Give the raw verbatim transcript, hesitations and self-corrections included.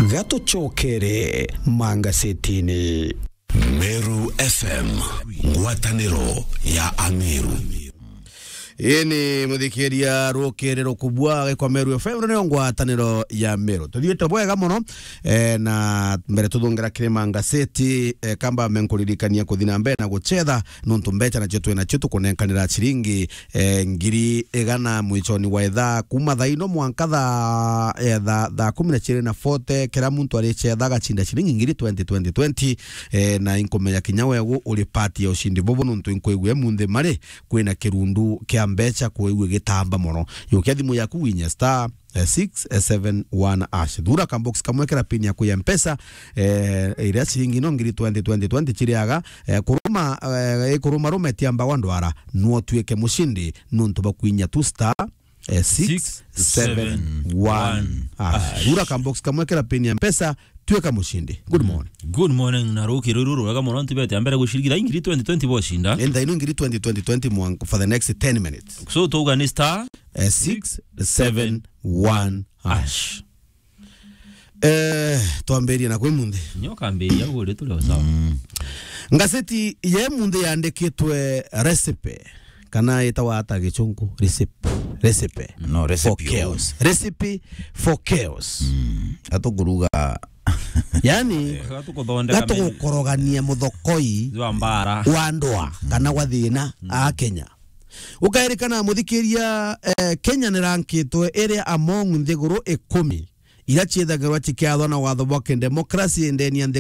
Gatucokere mangasetini. Meru F M, ngwataniro ya Ameru. Ii ni muthikiria rukiri rukubua gikwa Meru F M, nio ngwataniro ya Meru. Tuthiite bwega mono, eh, na mbere tuthungira kiri mangaseti, eh, kamba menkuririkania kuthi na mbere na guchetha, nontu mbecha nacio twi nacio tukunenkanira ciringi eh, ngiri igana mwichoni wa ithaa, kuma thaa ino mwanka thaa, eh, thaa, thaa kumi na ciiri na forty, kira muntu arichetha agacinda ciringi ngiri twenty, twenty, twenty, eh, na inkumenya kinya wegu uri part ya ushindi bubu, nontu inkwigua munthi mari kwina kirundu kia mbecha kwigua gitamba mono. Yukia thimu yaku winye star eh, six seven one hash. Thura ka box kamwe kira pin yaku ya Mpesa, eh, iria ciringi no ngiri twenty, twenty, twenty chiriaga, eh, kuruma, eh, ikuruma rume tiamba wa ndwara, no tuike mushindi, nontu bakwinya tu star, eh, six seven one hash. Thura ka box kamwe kira pin ya Mpesa, tuika mushindi. Good morning. Good morning, na rukiri ruru rwega mono, ntibete ambere gucirigitha ingiri twenty twenty boshinda. Enda ino ngiri twenty, twenty, twenty mwank for the next ten minutes. So, tuga ni star Eh, six seven one hash. Eh, twambirie na kwi munthi. Nyo kambiria ugu ri turi o sawa. Ngazeti ye munthi yandikitwe recipe, kana itawa ata gichungu? Recipe. Recipe. No, recipe for chaos. Recipe for chaos. Mm. Atukuruga. Yani, gatukuthondeka gatugukorogania muthokoi wa mbara, wa ndwa, kana gwa thina a Kenya. Ukairikana muthikiria, eh, Kenya ni rankitwe iri among nthiguru ikumi iria ciithagirwa cikiathwa na watho bwa kidemokrasi ndeni ya nthi